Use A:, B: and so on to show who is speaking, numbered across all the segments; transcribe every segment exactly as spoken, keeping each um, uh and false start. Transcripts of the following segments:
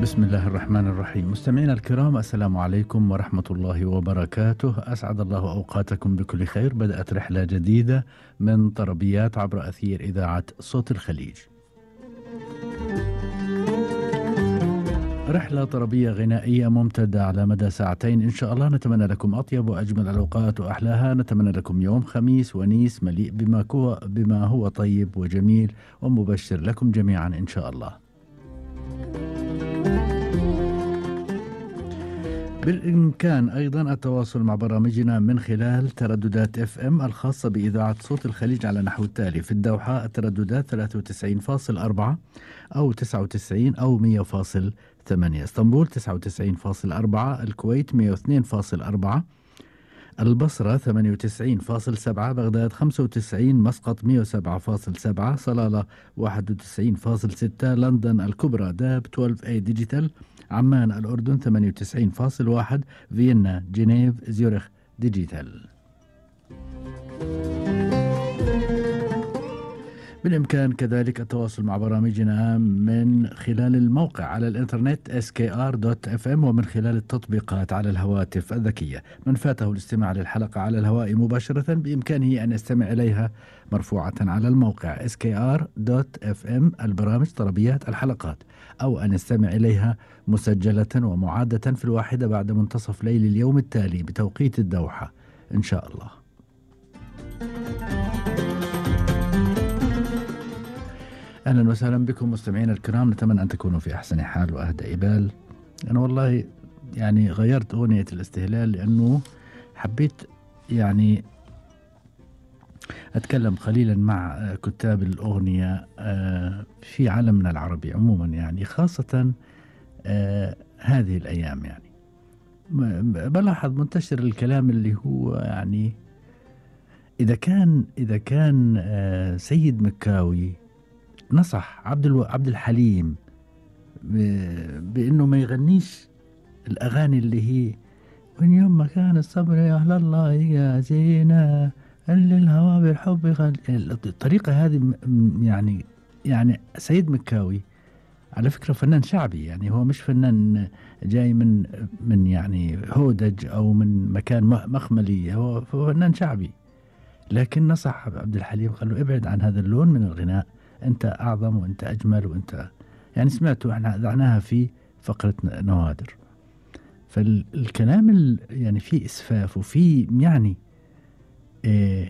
A: بسم الله الرحمن الرحيم. مستمعينا الكرام، السلام عليكم ورحمة الله وبركاته. أسعد الله أوقاتكم بكل خير. بدأت رحلة جديدة من طربيات عبر أثير إذاعة صوت الخليج. رحلة طربية غنائية ممتدة على مدى ساعتين إن شاء الله. نتمنى لكم أطيب وأجمل الأوقات وأحلاها. نتمنى لكم يوم خميس ونيس مليء بما هو, بما هو طيب وجميل ومبشر لكم جميعا إن شاء الله. بالإمكان أيضا التواصل مع برامجنا من خلال ترددات اف ام الخاصة بإذاعة صوت الخليج على نحو التالي: في الدوحة الترددات ثلاثة وتسعين فاصلة أربعة أو تسعة وتسعين أو مية فاصلة ثمانية، اسطنبول تسعة وتسعين فاصلة أربعة، الكويت مية واثنين فاصلة أربعة، البصرة ثمانية وتسعين فاصلة سبعة، بغداد خمسة وتسعين، مسقط مية وسبعة فاصلة سبعة، صلالة واحد وتسعين فاصلة ستة، لندن الكبرى داب اثنا عشر اي ديجيتال، عمان الأردن ثمانية وتسعين فاصلة واحد، فيينا جنيف زيورخ ديجيتال. بالإمكان كذلك التواصل مع برامجنا من خلال الموقع على الإنترنت إس كي آر دوت إف إم ومن خلال التطبيقات على الهواتف الذكية. من فاته الاستماع للحلقة على الهواء مباشرة بإمكانه أن يستمع إليها مرفوعة على الموقع إس كي آر دوت إف إم البرامج طربيات الحلقات، أو أن يستمع إليها مسجلة ومعادة في الواحدة بعد منتصف ليل اليوم التالي بتوقيت الدوحة إن شاء الله. أهلا وسهلا بكم مستمعينا الكرام. نتمنى أن تكونوا في أحسن حال وأهدى إبال. أنا والله يعني غيرت أغنية الاستهلال لأنه حبيت يعني أتكلم قليلا مع كتاب الأغنية في عالمنا العربي عموما، يعني خاصة هذه الأيام. يعني بلاحظ منتشر الكلام اللي هو يعني إذا كان إذا كان سيد مكاوي نصح عبد الو... عبد الحليم ب... بأنه ما يغنيش الأغاني اللي هي وين يوم ما كان الصبر يا أهل الله يا زينة اللي الهوى بالحب يغني. الطريقة هذه يعني يعني سيد مكاوي على فكرة فنان شعبي، يعني هو مش فنان جاي من من يعني هودج أو من مكان مخملي، هو فنان شعبي. لكن نصح عبد الحليم قال له ابعد عن هذا اللون من الغناء، أنت أعظم وأنت أجمل وأنت يعني سمعتوا احنا ذعناها في فقرة نوادر. فالكلام يعني في إسفاف وفي يعني اه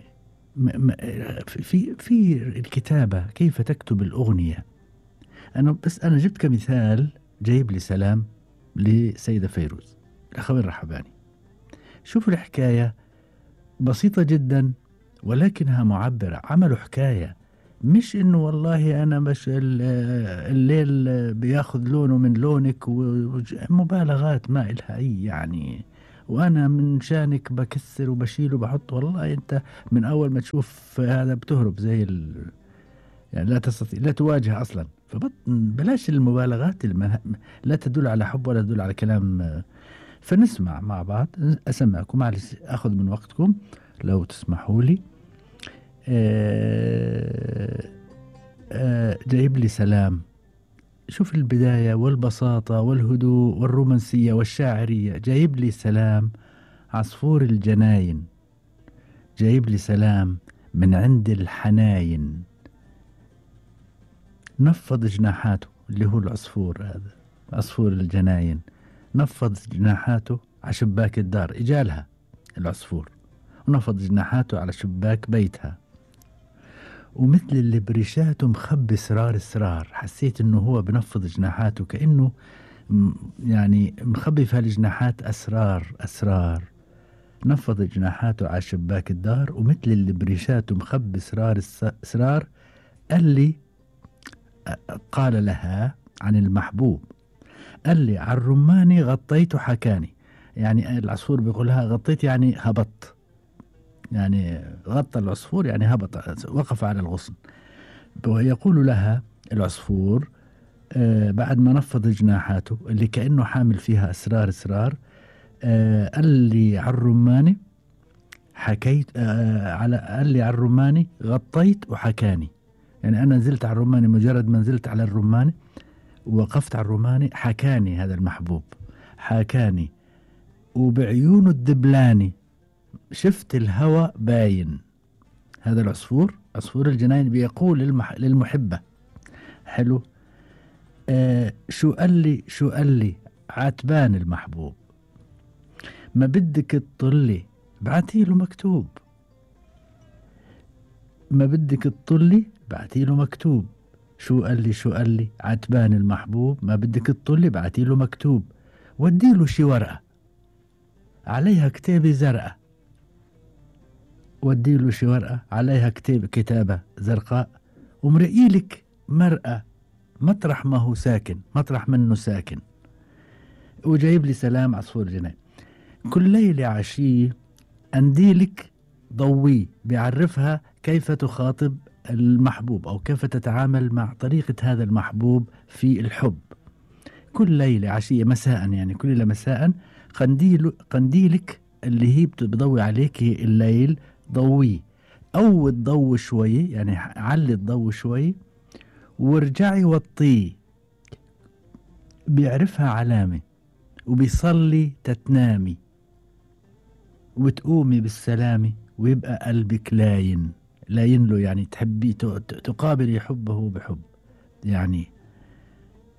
A: في في الكتابة، كيف تكتب الأغنية. أنا بس أنا جبت كمثال جايب لي سلام لسيدة فيروز الأخوين الرحباني. شوفوا الحكاية بسيطة جدا ولكنها معبرة. عملوا حكاية، مش انه والله انا مش الليل بياخذ لونه من لونك ومبالغات ما إلها اي يعني، وانا من شانك بكسر وبشيل وبحط. والله انت من اول ما تشوف هذا بتهرب زي ال... يعني لا تستطيع لا تواجه اصلا. فبلاش المبالغات المه... لا تدل على حب ولا تدل على كلام. فنسمع مع بعض، اسمعكم معلش اخذ من وقتكم لو تسمحوا لي. آه آه جايب لي سلام. شوف البداية والبساطة والهدوء والرومانسية والشاعرية. جايب لي سلام عصفور الجناين، جايب لي سلام من عند الحناين، نفض جناحاته اللي هو العصفور هذا عصفور الجناين، نفض جناحاته على شباك الدار، إجالها العصفور ونفض جناحاته على شباك بيتها، ومثل اللي بريشاته مخبي سرار سرار. حسيت انه هو بنفض جناحاته كأنه يعني مخبي في هالجناحات أسرار أسرار. نفض جناحاته على شباك الدار ومثل اللي بريشاته مخبي سرار سرار. اللي قال لها عن المحبوب، قال لي على الرماني غطيت وحكاني. يعني العصفور بيقولها غطيت يعني هبط، يعني غطى العصفور يعني هبط وقف على الغصن. ويقول لها العصفور آه بعد ما نفض جناحاته اللي كأنه حامل فيها أسرار أسرار، آه قال لي على الرماني حكيت آه على قال لي على الرماني غطيت وحكاني. يعني أنا نزلت على الرماني، مجرد ما نزلت على الرماني وقفت على الروماني حكاني هذا المحبوب، حكاني وبعيونه الدبلاني شفت الهوى باين. هذا العصفور عصفور الجناين بيقول للمح... للمحبة. حلو. آه شو قال لي شو قال لي عتبان المحبوب، ما بدك تطلي بعتي له مكتوب، ما بدك تطلي بعتي له مكتوب. شو قال لي شو قال لي عتبان المحبوب، ما بدك تطلي بعتي له مكتوب. ودي له شي ورقة عليها كتابة زرقاء، ودي له شي ورقة عليها كتاب كتابة زرقاء، ومرقيلك مرقة مطرح ما هو ساكن، مطرح منه ساكن. وجايب لي سلام عصفور جناين. كل ليلة عشية أنديلك ضوي بيعرفها كيف تخاطب المحبوب أو كيف تتعامل مع طريقة هذا المحبوب في الحب. كل ليلة عشية مساء، يعني كل ليلة مساء قنديل قنديلك اللي هي بضوي عليك الليل ضوي، أو تضوي شوي، يعني علي الضوء شوي وارجعي وطيه. بيعرفها علامة وبيصلي تتنامي وتقومي بالسلامة ويبقى قلبك لاين لاين له، يعني تحبي تقابلي حبه بحب يعني.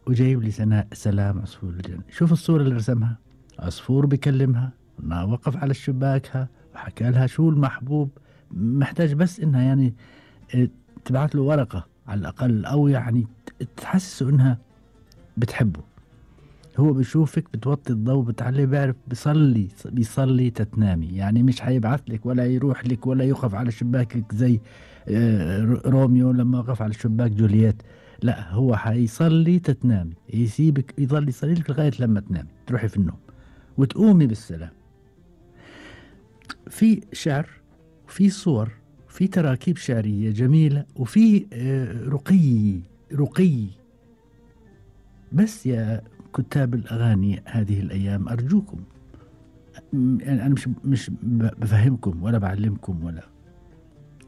A: وجايب لي سناء سلام عصفور الجنة. شوف الصورة اللي رسمها، عصفور بيكلمها، وقف على شباكها وحكى لها شو المحبوب محتاج، بس انها يعني تبعت له ورقة على الأقل، أو يعني تحسسه انها بتحبه. هو بيشوفك بتوطي الضوء بتعلي، بيعرف بيصلي بيصلي تتنامي، يعني مش حيبعث لك ولا يروح لك ولا يقف على شباكك زي روميو لما وقف على شباك جولييت. لا، هو حيصلي تتنامي، يسيبك يظل يصلي لك لغاية لما تنامي تروحي في النوم وتقومي بالسلام. في شعر وفي صور، في تراكيب شعرية جميلة، وفي رقي رقي. بس يا كتاب الأغاني هذه الأيام أرجوكم، يعني أنا مش مش بفهمكم ولا بعلمكم ولا،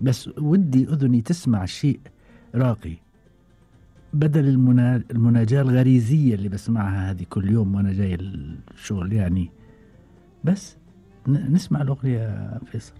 A: بس ودي أذني تسمع شيء راقي بدل المنا... المناجاة الغريزية اللي بسمعها هذه كل يوم وأنا جاي الشغل يعني. بس نسمع الأغنية يا فيصل.